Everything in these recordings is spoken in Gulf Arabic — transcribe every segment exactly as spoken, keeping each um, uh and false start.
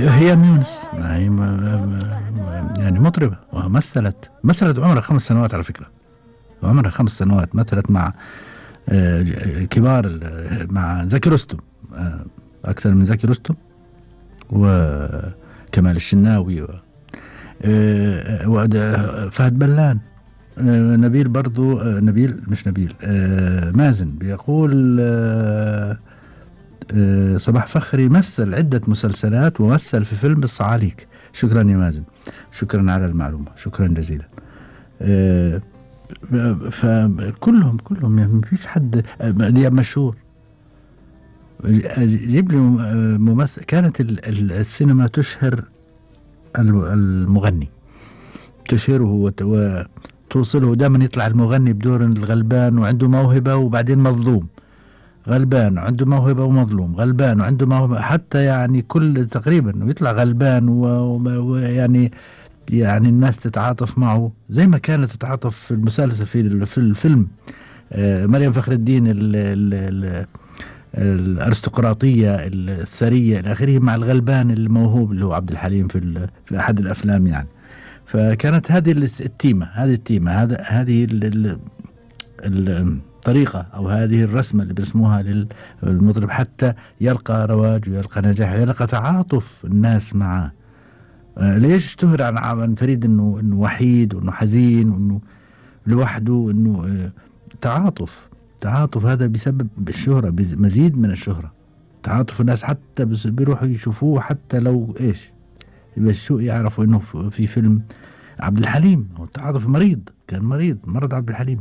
هي يونس، ما هي يعني مطربة ومثلت مثلت عمرها خمس سنوات على فكرة، عمرها خمس سنوات مثلت مع كبار، مع زكي رستم، أكثر من زكي رستم وكمال الشناوي وفهد بلان، نبيل برضو، نبيل مش نبيل مازن بيقول صباح فخري مثل عدة مسلسلات ومثل في فيلم الصعاليك. شكرا يا مازن، شكرا على المعلومة، شكرا جزيلا. فكلهم كلهم يعني مفيش حد. دياب مشهور، جيب لي ممثل. كانت السينما تشهر المغني، تشهره وتوصله. دائما يطلع المغني بدور الغلبان وعنده موهبة وبعدين مظلوم، غلبان وعنده موهبة ومظلوم، غلبان وعنده موهبة، حتى يعني كل تقريبا ويطلع غلبان ويعني يعني الناس تتعاطف معه زي ما كانت تتعاطف في المسلسل في في الفيلم مريم فخر الدين ال ال ال الارستقراطية الثرية إلى آخره مع الغلبان الموهوب اللي هو عبد الحليم في في أحد الأفلام يعني. فكانت هذه التيمة، هذه التيمة هذا هذه الطريقة أو هذه الرسمة اللي بيرسموها للمطرب حتى يلقى رواج ويلقى نجاح ويلقى تعاطف الناس معه. آه ليش اشتهر عن عن فريد انه انه وحيد وانه حزين وانه لوحده وانه آه تعاطف تعاطف هذا بسبب الشهرة، مزيد من الشهرة. تعاطف الناس حتى بيروحوا يشوفوه حتى لو ايش بس شو يعرفوا انه في فيلم عبد الحليم. هو التعاطف مريض، كان مريض مرض عبد الحليم.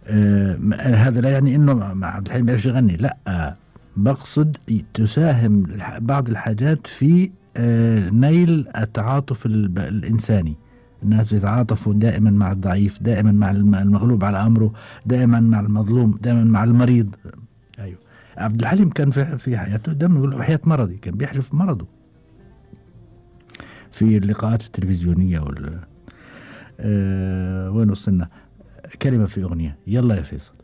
آه هذا لا يعني انه مع عبد الحليم بيعرفش يغني، لا آه بقصد تساهم بعض الحاجات في آه نيل التعاطف الإنساني. الناس يتعاطفوا دائما مع الضعيف، دائما مع المغلوب على أمره، دائما مع المظلوم، دائما مع المريض. أيوه عبد الحليم كان في في حياته دائما يقول وحياة مرضي، كان بيحلف مرضه في اللقاءات التلفزيونية وال آه وين وصلنا؟ كلمة في أغنية، يلا يا فيصل.